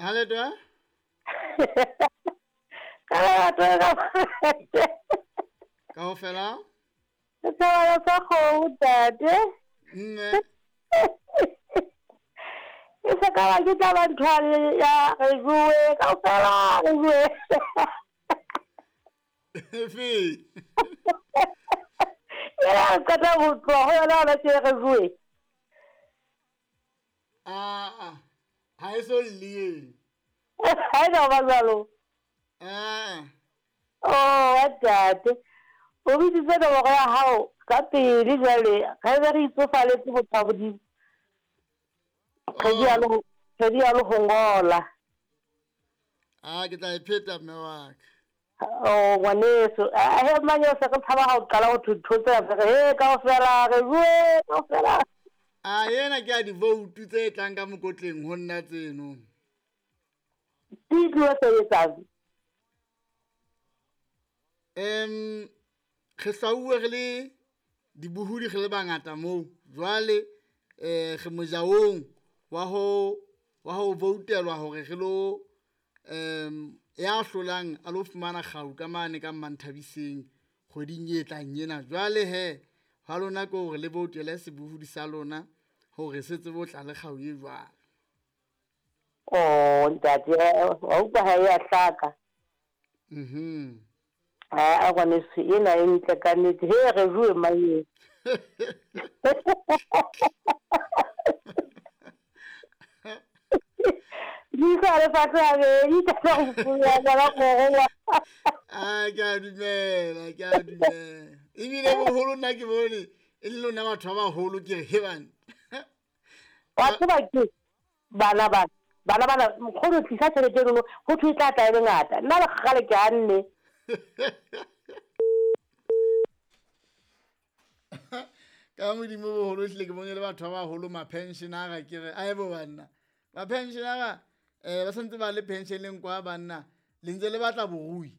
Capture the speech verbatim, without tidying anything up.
Ha le twa? Ka lerato ka Kaofela? Setshwana sa kgomo ntate. Nne. E se ka ba ke tla ba ntho ya re bue kaofela re bue. Efe? Ela re qeta ho tloha ho yona hona tje re bue. Ah ah. Ha e so lle. Ha e no ba jwalo. Eh. Oh, ntate. O bitsitse nomoro ya hao ka pele jwale ga be re itsofaletse motho wa Modimo. Kgwedi ya le kgwedi ya le ho ngola. Ah, ke tla e pheta mme wa ka. Oh, ngwaneso, a he mang se re tshaba ha o qala ho ntho tse re he kaofela re bue kaofela. Ah, ena ke a di-vote tse tlang ka mokotleng ho nna tseno. Di tlo sebetsang. Em re hlwauwe re le dibohodi re le bangata moo. Jwale eh re mojaong wa ho wa ho voutelwa hore re lo em ya hlolang a lo fumana kgau ka mane ka Mmanthabiseng kgweding e tlang ena. Jwale he ha lona ke hore le voutele sebohodi sa lona hore se tsebe ho tla le kgau e jwalo. Oh, ntate, wa utlwa ha e a hlaka. Mhm. A ngwaneso ena e ntle ka nnete. He re bue mang. Di sa le fatshe habedi ka go bua ka go. Ah, ke a dumela, ke a dumela. Ebile boholo nna ke bone e le lona batho ba baholo ke re he bana. Wa tseba ke bana bana bana bana nkgono tlisa tjhelete eno ho thwe e tla tla e le ngata. Nna le kgale ke hanne. Ka Modimo boholo hlile ke bone le batho ba baholo ma-pensionara ke re ae bo banna. Ma-pensionara eh ba santse ba le pensioneng kwa banna le ntse le batla borui.